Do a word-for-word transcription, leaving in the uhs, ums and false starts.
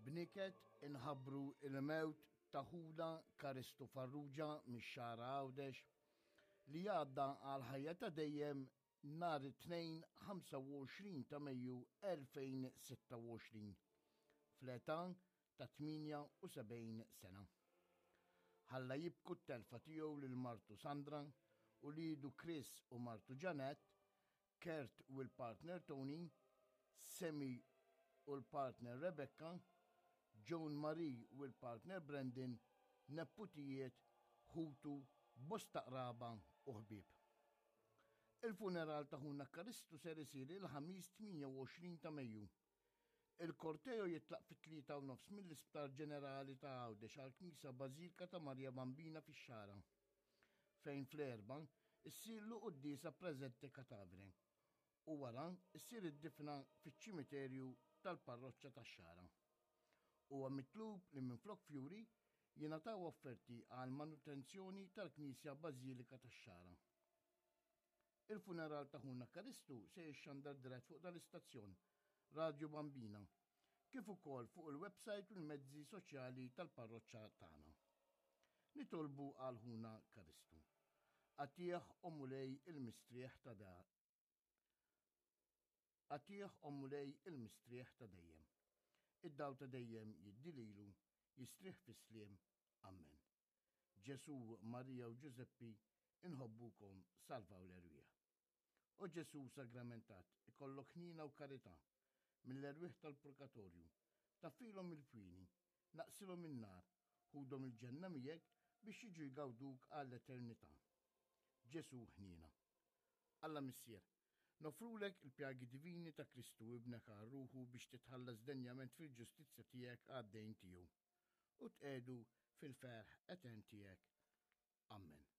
B'niket inħabbru il-mewt ta' ħuna Karistu Farrugia mix-Xagħra Għawdex li għadda għal ħajja ta' dejjem nhar it-Tnejn ħamsa u għoxrin ta' Mejju elfejn u sitta u għoxrin fl-età ta' tmienja u sebgħin sena. Ħalla jibku t-telfa tiegħu lil martu Sandra u uliedu Chris u martu Janet, Kurt u l-partner Tony, Semi u l-partner Rebecca, Joan Marie u l-partner Brandon, neputijiet, ħutu, bosta qraba u ħbieb. Il-funeral ta' ħuna Karistu ser isir il-Ħamis tmienja u għoxrin ta' Mejju. Il-korteo jitlaq fit-tlieta u nofs mill-Isptar Ġenerali ta' Għawdex għal Knisja Bażilika ta' Marja Bambina fix-Xagħra, fejn fl-erba' issirlu quddiesa praesente cadavere u wara issir id-difna fiċ-ċimiterju tal-parroċċa tax-Xagħra. Huwa mitlub li minflok fjuri jingħataw offerti għal manutenzjoni tal-Knisja Bażilika tax-Xagħra. Il-funeral ta' ħuna Karistu se jixxandar dirett fuq dal-istazzjon Radio Bambina, kif ukoll fuq il-website u l-mezzi soċjali tal-parroċċa tagħna. Nitolbu għal ħuna Karistu. Agħtih, o Mulej, il-mistrieħ ta' da. Agħtih, o Mulej, il-mistrieħ ta' dejjem. Id-dawl ta' dejjem jiddi lilu, jistrieħ fis-sliem. Amen. Ġesu, Marija u Ġużeppi, inħobbukom, salvaw l-erwieħ. O Ġesu sagramentat, ikollok ħnina u karità mill-erwieħ tal-purgatorju, taffilhom il-pieni, naqqsilhom in-nar, ħudhom il-ġenna miegħek biex jiġu jgawduk għall-eternità. Ġesu ħniena. Alla Missier, noffrulek il-pjagi divini ta' Kristu ibnek għal ruħu biex titħallas denjament fil-ġustizzja tiegħek għad-dejn tiegħu u tqiegħdu fil-ferħ etern tiegħek. Amen.